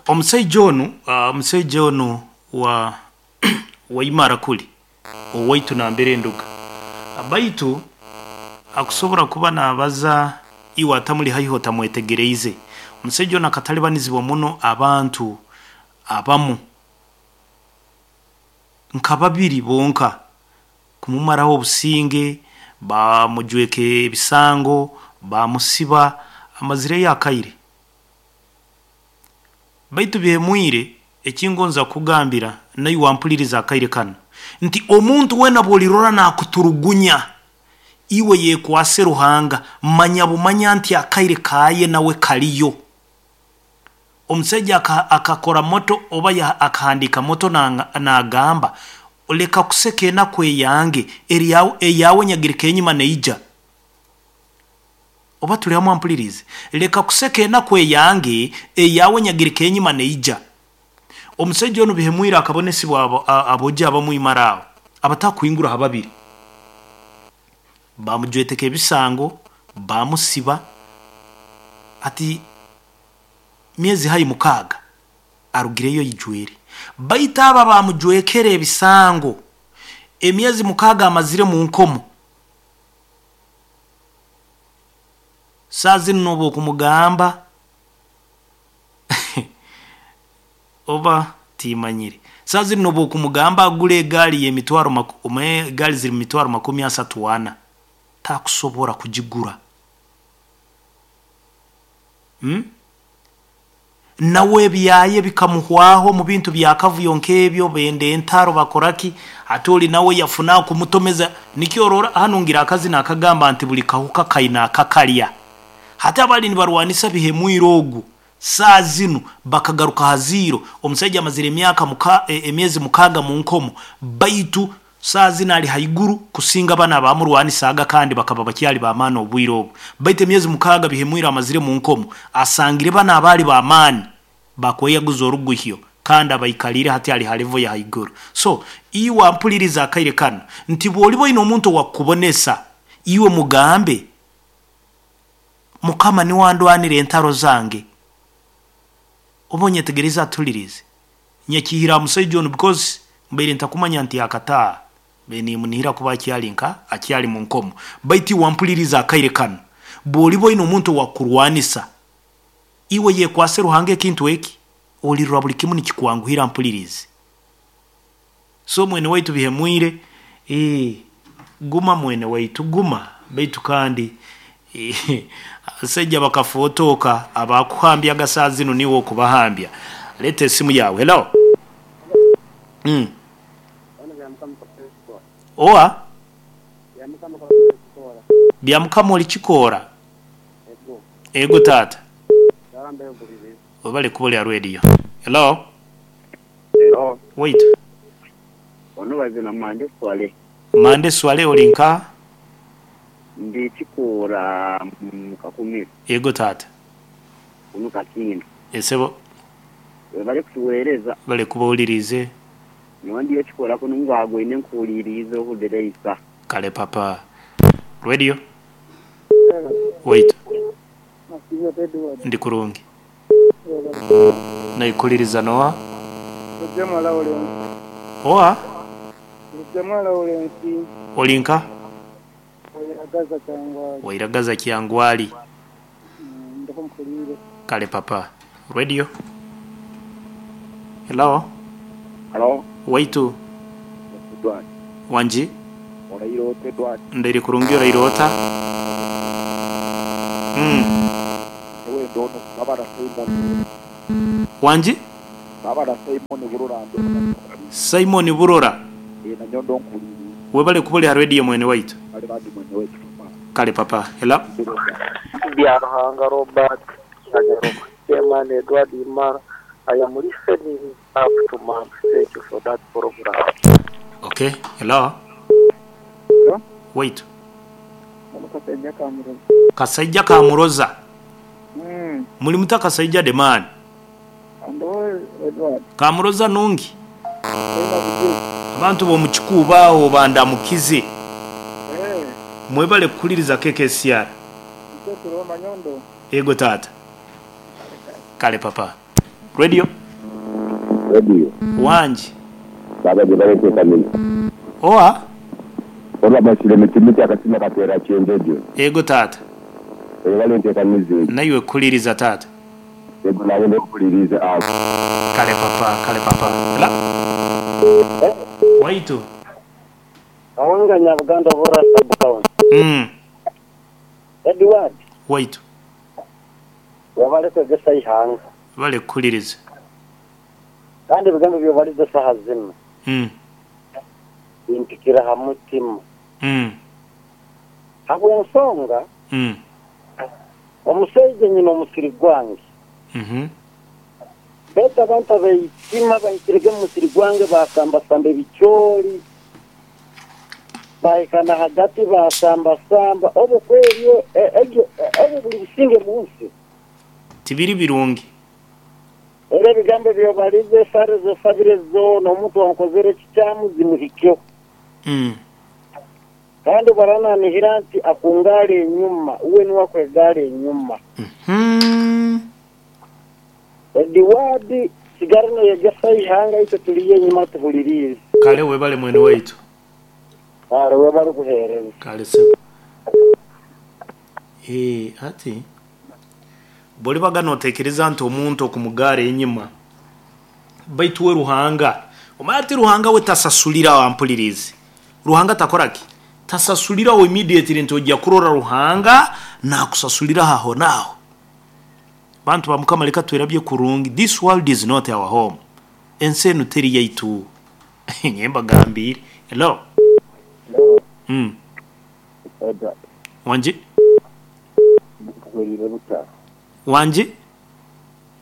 Omusaija onu, omusaija onu wa Waimara kuli owaitu nambere nduga. Baitu akusobora kuba nabaza iwe atamuli haihi otamwetegereize. Omusaija onu akatalibanizibwa muno abantu abamu nka babiri bonka kumumaraho obusinge, bamujweka ebisango, bamusiba, amazireyo akaire. Baitu Bihemwire ekingonza kukugambira naiwe ampuliriza akaire kanu nti omuntu weena bwolirora nakuturugunya, iwe yekwase Ruhanga, manya bumanya nti akaire kaye nawe kaliyo. Omusaija akakora moto oba akahandika moto nagamba leka kuseka enaku eyange, eyawe nyagirika enyuma neija. Oba tuli hamu ampuliriize? Leka kuseka enaku eyange, eyawe nyagirika enyuma neija. Omusaija onu Bihemwire akabonesibwa aboojo abamu imara aho, abatakuhingura ha babiri. Bamujweteka ebisango, bamusiba, hati myezi haihi 6 arugireyo aijwire. Baitu abo abamujwekere ebisango, emyezi 6 amazire mu nkomo, saaha zinu noba okumugamba oba timanyire, saaha zinu noba okumugamba agure egaari y'emitwaro egaari ziri mumitwaro 34, takusobora kugigura. Nawe ebyaye bikamuhwaho omu bintu byakavuyo nk'ebyo, benda entaro bakoraki, hati ori nawe yafuna kumutomeza, nikyo orora hanu ngira akazina akagamba nti buli kahuka kaina akakarya. Hati abali nibarwanisa Bihemwire ogu, saaha zinu bakagaruka ha ziiro, omusaija amazire emyaka emyezi 6 mu nkomo, baitu saaha zinu ali haiguru kusinga banu abamurwanisaaga kandi bakaba bakyali b'amaani obwire obu. Baitu emyezi 6 Bihemwire amazire mu nkomo, asangire banu abaali b'amaani bakweyaguza oruguhyo kandi abaikaliire hati ali ha level ya haiguru. So, iwe ampuliriza akaire kanu nti bwoliba oine omuntu owakukubonesa, iwe mugambe Mukama niwe andwanira entaro zange. Oba onyetegereize atuliriize. Nyakihire aha musaija onu because mbaire ntakumanya nti akataaha, mbaire nimunihira kuba akyali nka akyali mu nkomo. Baitu iwe ampuliriize akaire kanu, bwoliba oine omuntu owakukurwanisa, iwe yekwase Ruhanga ekintu eki, olirora buli kimu nikikwanguhira mpuliriize. So mwene waitu Bihemwire, guma mwene waitu guma, baitu kandi abasaija bakafootoka abakuhambyaga saaha zinu niiwe okubahambya. Leeta esimu yaawe. Hello. Owa? Byamukama oli Kikoora? Ego taata. Webale kuba oli ha radio. Hello. Hello. Waitu. Ono bazina Mande Swaleh. Mande Swaleh oli nkaha? Ndi Kikuura mu Kakumiro. Yego taata. Kunu Kakindu. Esebo. Webale kutuwereza. Webale kuba owuliriize. Nyowe ndiyo Kikuura kunu ngwagwaine nkuhuliriize ohulire isa. Kale papa. Radio. Waitu. Ndi kurungi. Naikuliriza noha? Lugyemwa Lawrence. Oha? Lugyemwa Lawrence. Oli nka? Wairagaza Kyangwali. Wairagaza Kyangwali. Ndho mpuliire. Kale papa. Radio. Hello. Halo. Waitu. Edward. Wangi? Oraire ota Edward? Ndaire kurungi oraire ota? Nyowe ndi ono Kabara Simon. Wangi? Kabara Simon Burora ndi ono. Simon Burora. Eeh nanyowe ndo nkuhuliriize. Webale kuba ori ha radio mwene waitu. Kale bambi mwene waitu papa. Kale papa. Hello. Byaruhanga Robert Kyagarama, Chairman Edward Imara, I am listening up to month, thank you for that program. Okay, hello. Hello. Waitu. Ono Kasaija Kamuroza. Kasaija Kamuroza. Muli muta Kasaija the man? Ndhogho Edward. Kamuroza nungi. Toina buzibu. Abantu b'omu Kikuubo agho bandamukize. Mwebale kuhuliriza KKCR. Itwe tuli Manyondo. Yego taata. Kale papa. Radio. Radio. Wangi. Baba gyebale nteekaniza. Owa? Oba basire miti akasima kateera kyenjojo. Ego taata. Webale nteekaniza egyo. Naiwe kuliriza taata. Ego nawe nkuliriza awo. Kale papa, kale papa. Ela. Waitu. Kawanga Nyabuganda Bura sub county. Edward. Waitu. Wabale kwegesa ihanga. Bale kuliriza. Kandi ebigambo byobaliza saha zino. Bimpikira ha mutima. Habw'ensonga. Omushaija nyina omusiri gwange. Beta abantu abeitima bahikirege mu musiri gwange basambasamba ebicoori. Bahikana hagati basambasamba obo kweryo ebyo buli businge mu nsi. Tibiri birungi. Era ebigambo byobalize esare zosabire zoona omuntu wankozere ekikyamu zimuhikyeho. Kandi barananihira nti akungaala enyuma uwe niwe akwegaala enyuma. Ediwadi sigara noyegesa ihanga itwe tuliyo enyuma tuhulirize. Kale webale mwene waitu. Kale webale kuheereza. Kale sebo. Ati boli baganotekereza nti omuntu okumugara enyuma baitu we Ruhanga omanya ati Ruhanga we tasasulira wampulirize. Ruhanga takoraki? Tasasulira we immediately nti ojja kurora Ruhanga nakusasulira aho naho. Bantu ba Mukama leka twerabye kurungi. This world is not our home. Ensi enu teri yaitu. Nyemba gambire. Hello. Hello. Edward. Wanje? Wanje?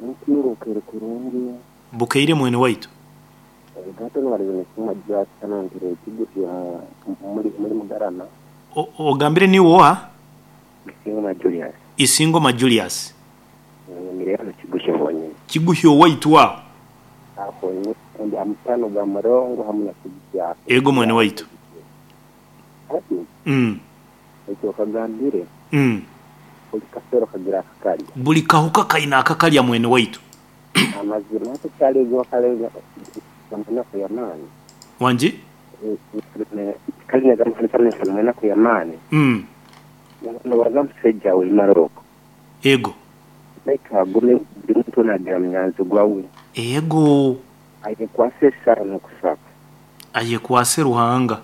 Nkiruka kurungi. Bukeire mwene waitu. Gato nwari kuma sana ngire kigufi muri mugarana. Ogambire ni woa? Isingoma Julius. Isingoma Julius. Ngire kigufi wonyine. Kigufi waitu wa? Aho ndi amutano ga murongo hamwe na kigufi. Ego mwene waitu. Ati. Ekyo kagambire. Buli kasero kagira akakalya. Buli kahuka kaina akakalya mwene waitu. Amazima ate kyalizo kalenga naku ya maani. Wanji? Kalina gamuhanisa naku ya maani. Nobaza musajja we Maroko. Ego. Naika agume buli muntu nagira munyanzi gwawe. Ego. Ayekwase esara n'okusaba. Ayekwase Ruhanga.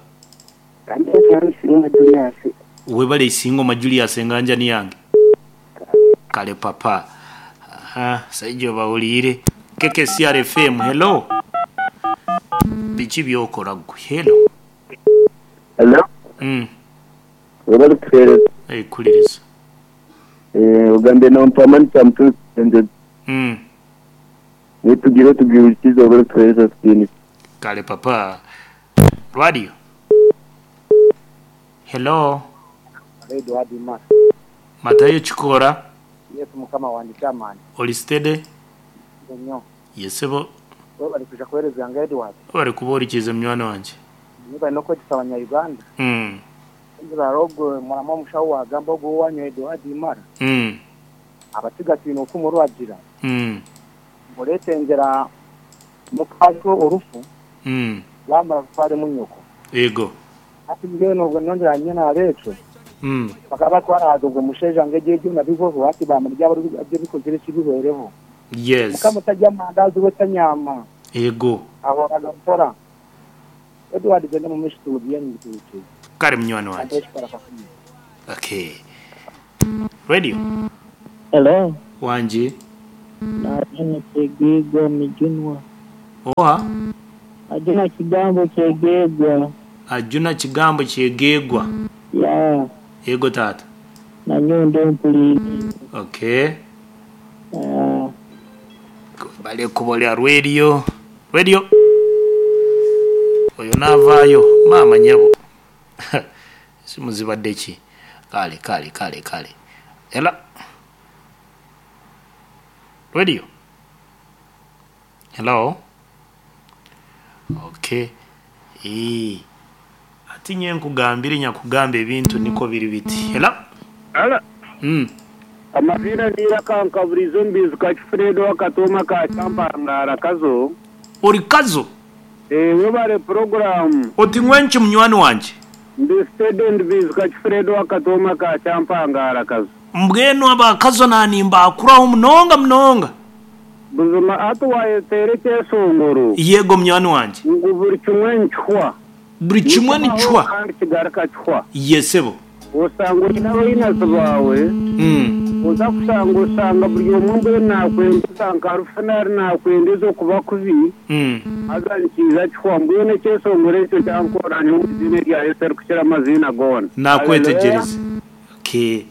Kandi Isingoma Julius. Webale Isingoma Julius enganja ni yange. Kale papa. Aha, saijo bawulire. Keke CRFM, hello. Biki byokora gwe. Hello. Hello. Webale kuhereza. Kuliriza. Ugambe no mpamani mtu nje. Nitugire tugirikize webale kuhereza sini. Kale papa. Radio. Hello. Edward Ma. Matayo Chikora. Yesu Mukama wanje chamani. Olistede. Nyo. Yesebo. Bali kuja kuhereza nga Edward. Bali kuborikiza mnywana wanje. Niba noko gisabanya Uganda. Ngira murama mushawo wagamba go wanyo Edward Mara. Abatigati no kumurwagira. Muretengera mukazo orufu. Bamara kware munyoko. Ego. Ati ngeno nongera nyina abecho. Bakaba twaraza ubwo musheja ngejeje nabigoho ati bamurya bari bikozere kibihereho. Yes. Mukamutajya mandazi we tanyama. Ego. Aho agakora. Edward genda mu mishitu byani bituke. Kare mnywana wanje. Okay. Radio. Hello. Wanje. Najuna kyegegwa mijunwa. Oha. Ajuna kigambo kyegegwa. Ajuna kigambo kyegegwa. Ya. Ego tata. Na nyondo mpuliri. Okay. Bale kubolya radio. Radio. Oyo navaayo maama nyabo. Simu zibadde ki? Kale kale kale kale. Ela. Radio. Hello. Okay. Ati nye nkugambire nyakugamba ebintu niko biri biti. Hello. Ala. Amazina ni Iraka nkaburizo mbizi Kacifredo akatooma ka Kyampangara Kazo. Ori Kazo? Webare puroguramu. Oti ngwenki munywani wangye? Ndi steady ndi Bizi Kacifredo akatooma ka Kyampangara Kazo. Mbwenu aba Kazo nanimbakuraho munonga munonga. Buzima hati wayeteera ekyeshongoro. Yego munywani wangye. Ngu buri kimwe nikihwa. Buri kimwe nikihwa. Kandi kigaruka kihwa. Ye sebo. Osanga oine abainazi baawe, oza kushanga oshanga buri omwe mbwenu nakwendeza nka rufu nari nakwendeza okuba kubi, haza nikiija kihwa. Mbwenu ekyeshongoro ekyo kyankora nyowe omu iziina erya Yesu erikukira amaziina goona. Nakwetegyereza. Okay.